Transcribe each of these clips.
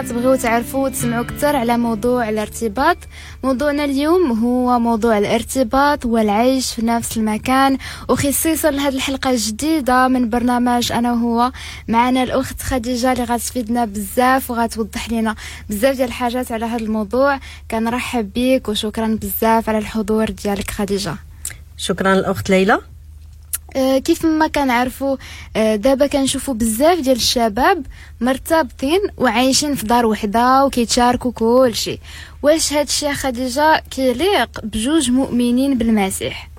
تبغيو تعرفوا وتسمعوا اكثر على موضوع الارتباط. موضوعنا اليوم هو موضوع الارتباط والعيش في نفس المكان، وخصيصا لهذه الحلقة الجديدة من برنامج انا وهو. معنا الاخت خديجة اللي غتفيدنا بزاف وغتوضح لنا بزاف ديال الحاجات على هذا الموضوع. كنرحب بك وشكرا بزاف على الحضور ديالك خديجة. شكرا الاخت ليلى. كيف ما كنعرفوا دابا كنشوفوا بزاف ديال الشباب مرتبطين وعايشين في دار وحده وكيتشاركوا كل شيء. واش هاد الشيء خديجة كيليق بجوج مؤمنين بالمسيح؟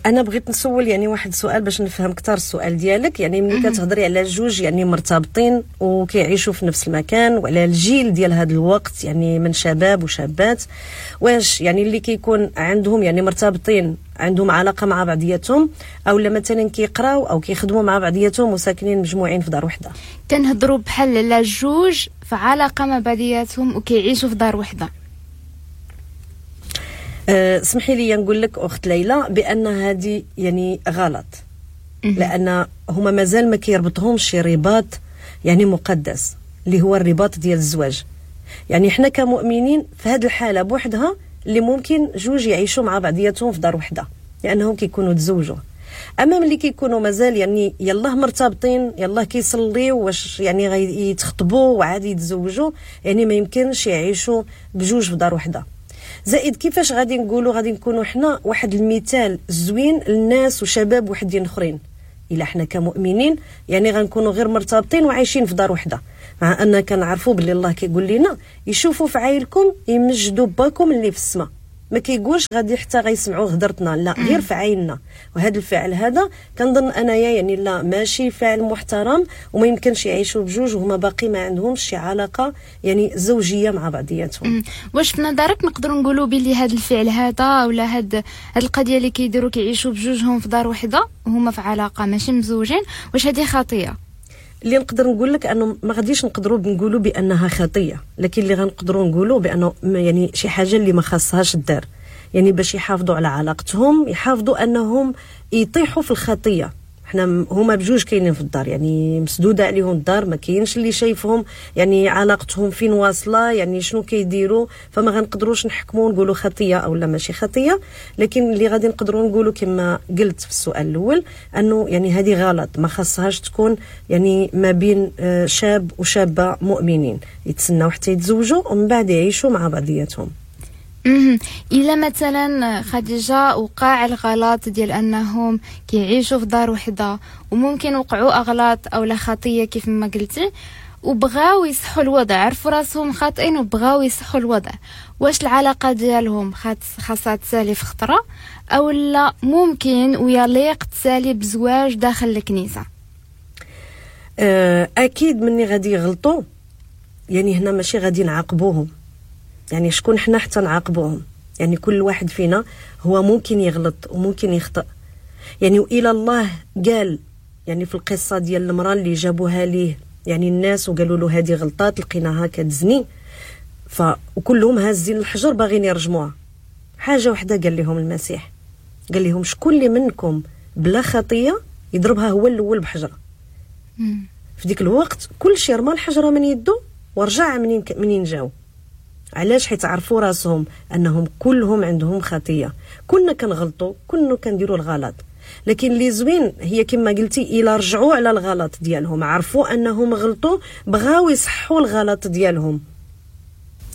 انا بغيت نسول يعني واحد السؤال باش نفهم اكثر السؤال ديالك. يعني ملي كتهضري على جوج يعني مرتبطين وكيعيشوا في نفس المكان وعلى الجيل ديال هذا الوقت يعني من شباب وشابات، واش يعني اللي كيكون عندهم يعني مرتبطين عندهم علاقة مع بعضياتهم، او لا مثلا كيقراو او كيخدموا مع بعضياتهم وساكنين مجموعين في دار وحده؟ كنهضروا بحال على جوج في علاقة مع بعضياتهم وكيعيشوا في دار وحده. سمحي لي نقول لك اخت ليلى بان هذه يعني غلط، لان هما مازال ما كيربطهمش شي رباط يعني مقدس اللي هو الرباط ديال الزواج. يعني حنا كمؤمنين في هذه الحالة بوحدها اللي ممكن جوج يعيشوا مع بعضياتهم في دار وحده لانهم كيكونوا تزوجوا. اما ملي كيكونوا مازال يعني يلاه مرتبطين يلاه كيصليو واش يعني غيتخطبوا وعادي يتزوجوا، يعني ما يمكنش يعيشوا بجوج في دار وحده. زائد كيفاش غادي نقولوا غادي نكونوا حنا واحد المثال زوين للناس وشباب وحدين اخرين الا حنا كمؤمنين يعني غنكونوا غير مرتبطين وعايشين في دار وحده، مع ان كنعرفوا باللي الله كيقول لنا يشوفوا في عايلكم يمجدوا باكم اللي في السماء. ما كيقولش غادي حتى غيسمعوا هضرتنا، لا غير في عيننا. وهذا الفعل هذا كنظن انايا يعني لا ماشي فعل محترم، وما يمكنش يعيشوا بجوج وهما باقي ما عندهمش شي علاقة يعني زوجيه مع بعضياتهم. واش في نظرك نقدروا نقولوا بلي هذا الفعل هذا ولا هاد القضية اللي كيديروا كيعيشوا بجوجهم في دار وحده وهما في علاقة ماشي مزوجين، واش هذه خطيه؟ اللي نقدر نقول لك انه ما غاديش نقدروا نقولوا بانها خطيه، لكن اللي غنقدروا نقولوا بانه يعني شي حاجة اللي ما خاصهاش الدار، يعني باش يحافظوا على علاقتهم، يحافظوا انهم يطيحوا في الخطية. حنا هما بجوج كاينين في الدار يعني مسدودة عليهم الدار، ما كاينش اللي شايفهم يعني علاقتهم فين واصله، يعني شنو كيديروا، فما غنقدروش نحكموا نقولوا خطيه او لا ماشي خطيه. لكن اللي غادي نقدروا نقولوا كما قلت في السؤال الاول انه يعني هذه غلط، ما خاصهاش تكون يعني ما بين شاب وشابه مؤمنين، يتسناو حتى يتزوجوا ومن بعد يعيشوا مع بعضياتهم. إلا مثلا خديجة وقع الغلط ديال أنهم كيعيشوا في دار وحدة وممكن وقعوا أغلاط أو لا خطية كيف ما قلتي، وبغاو يصحوا الوضع، عرفوا راسهم خاطئين وبغاو يصحوا الوضع، واش العلاقة ديالهم خاصها تسالي في خطرة أو لا ممكن ويليق تسالي بزواج داخل الكنيسة؟ أكيد مني غادي يغلطوا يعني هنا ماشي غادي نعاقبوهم، يعني شكون حنا حتى نعاقبوهم؟ يعني كل واحد فينا هو ممكن يغلط وممكن يخطئ. يعني والى الله قال يعني في القصة ديال المراة اللي جابوها ليه يعني الناس وقالوا له هذه غلطات لقيناها كتزني، وكلهم هازين الحجر باغيين يرجموها. حاجة وحده قال لهم المسيح، قال لهم شكون اللي منكم بلا خطيه يضربها هو الاول بحجره. في ديك الوقت كل شيء رمى الحجرة من يده ورجع منين جاو. علاش؟ حيت عرفوا راسهم انهم كلهم عندهم خطيه، كنا كنغلطوا، كنا كنديروا الغلط. لكن اللي زوين هي كما قلتي الى رجعوا على الغلط ديالهم، عرفوا انهم غلطوا، بغاو يصحوا الغلط ديالهم،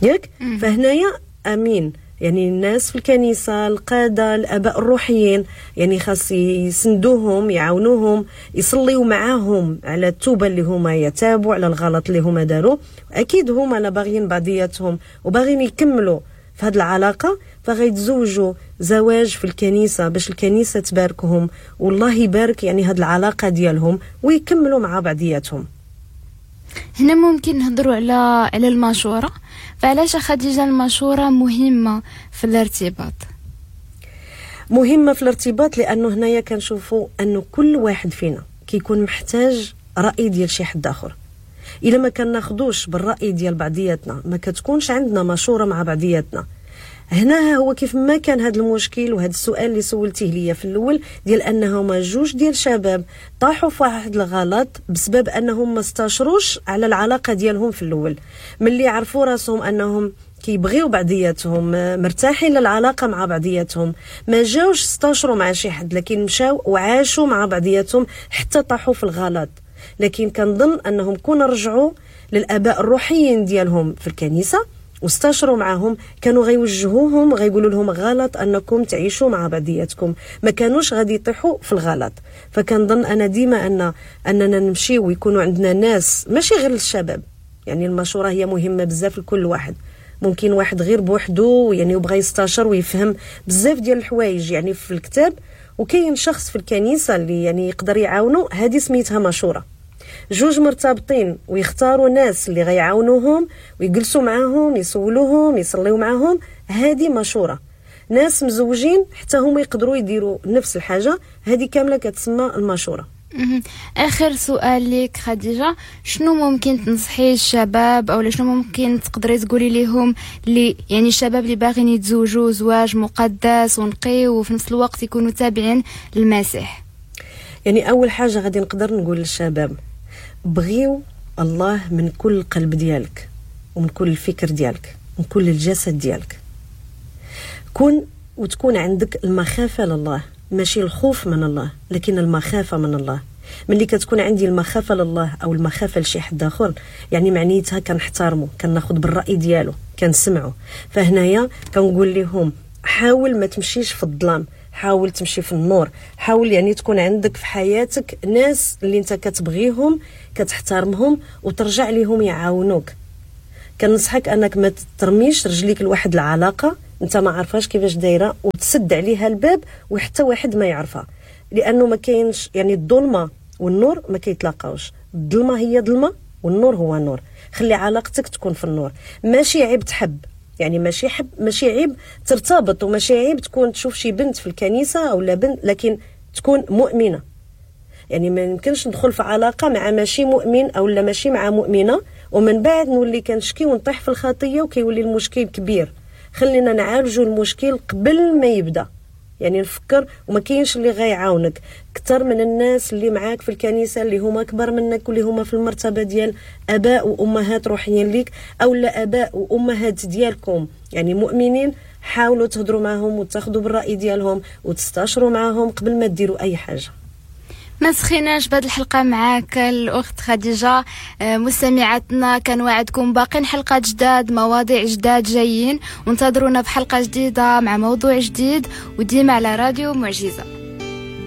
ياك؟ فهنايا امين يعني الناس في الكنيسة، القادة، الاباء الروحيين يعني خاص يسندوهم، يعاونوهم، يصليوا معاهم على التوبة اللي هما يتابوا على الغلط اللي هما داروا. اكيد هما لا باغيين بعضياتهم وباغيين يكملوا في هذه العلاقة، فغيتزوجوا زواج في الكنيسة باش الكنيسة تباركهم والله يبارك يعني هذه العلاقة ديالهم ويكملوا مع بعضياتهم. هنا ممكن نهضروا على المشورة. فعلاش خديجة المشورة مهمة في الارتباط؟ مهمة في الارتباط لأنه هنايا كنشوفوا أنه كل واحد فينا كيكون محتاج رأي ديال شي حد آخر. إلا ما كناخدوش بالرأي ديال بعضياتنا، ما كتكونش عندنا مشورة مع بعضياتنا، هنا هو كيف ما كان هذا المشكل وهذا السؤال اللي سولتيه ليا في الاول ديال انهما جوج ديال شباب طاحوا في واحد الغلط بسبب انهم ما استشروش على العلاقة ديالهم في الاول. ملي عرفوا راسهم انهم كيبغيو بعضياتهم، مرتاحين للعلاقة مع بعضياتهم، ما جاوش استشروا مع شي حد، لكن مشاو وعاشوا مع بعضياتهم حتى طاحوا في الغلط. لكن كنظن انهم كون رجعوا للاباء الروحيين ديالهم في الكنيسة واستشروا معهم، كانوا غيوجهوهم غيقولوا لهم غلط انكم تعيشوا مع بعضياتكم، ما كانوش غادي يطيحوا في الغلط. فكنظن انا ديما اننا نمشي ويكونوا عندنا ناس، ماشي غير للشباب، يعني المشورة هي مهمة بزاف لكل واحد. ممكن واحد غير بوحدو يعني وبغى يستشر ويفهم بزاف ديال الحوايج يعني في الكتاب، وكاين شخص في الكنيسة اللي يعني يقدر يعاونو، هذه سميتها مشورة. جوج مرتبطين ويختاروا ناس اللي غيعاونوهم ويجلسوا معاهم، يسولوهم، يصليو معاهم، هذه مشورة. ناس مزوجين حتى هما يقدروا يديروا نفس الحاجة، هذه كاملة كتسمى المشورة. اخر سؤال لك خديجة، شنو ممكن تنصحي الشباب او شنو ممكن تقدري تقولي لهم اللي يعني الشباب اللي باغيين يتزوجوا زواج مقدس ونقي وفي نفس الوقت يكونوا تابعين للمسيح؟ يعني اول حاجة غادي نقدر نقول للشباب، بغيو الله من كل القلب ديالك ومن كل الفكر ديالك ومن كل الجسد ديالك. كون وتكون عندك المخافة لله، ماشي الخوف من الله لكن المخافة من الله. ملي كتكون عندي المخافة لله أو المخافة لشي حد آخر، يعني معنيتها كنحترمه، كناخد بالرأي ديالو، كنسمعه. فهنايا كنقول لهم حاول ما تمشيش في الظلام، حاول تمشي في النور، حاول يعني تكون عندك في حياتك ناس اللي انت كتبغيهم كتحترمهم وترجع لهم يعاونوك. كنصحك انك ما ترميش رجليك لواحد العلاقة انت ما عارفاش كيفاش دايرة وتسد عليها الباب وحتى واحد ما يعرفها، لانه ما كاينش يعني الظلمة والنور ما كيتلاقاوش. الظلمة هي ظلمه والنور هو نور. خلي علاقتك تكون في النور. ماشي عيب تحب، يعني ماشي حب، ماشي عيب ترتبط، وماشي عيب تكون تشوف شي بنت في الكنيسة او لا بنت، لكن تكون مؤمنة. يعني ما يمكنش ندخل في علاقة مع ماشي مؤمن او لا ماشي مع مؤمنة ومن بعد نولي كنشكي ونطيح في الخطية وكيولي المشكل كبير. خلينا نعالجوا المشكل قبل ما يبدا، يعني نفكر، وما كاينش اللي غيعاونك اكثر من الناس اللي معاك في الكنيسة اللي هما اكبر منك واللي هما في المرتبة ديال اباء وامهات روحيين ليك او لا اباء وامهات ديالكم يعني مؤمنين. حاولوا تهضروا معهم وتاخذوا بالراي ديالهم وتستشروا معهم قبل ما ديروا اي حاجة. ما سخيناش بهذه الحلقة معاك الأخت خديجة. مستمعاتنا كنوعدكم باقين حلقات جداد، مواضيع جداد جايين، وانتظرونا في حلقة جديدة مع موضوع جديد، وديما على راديو معجزة.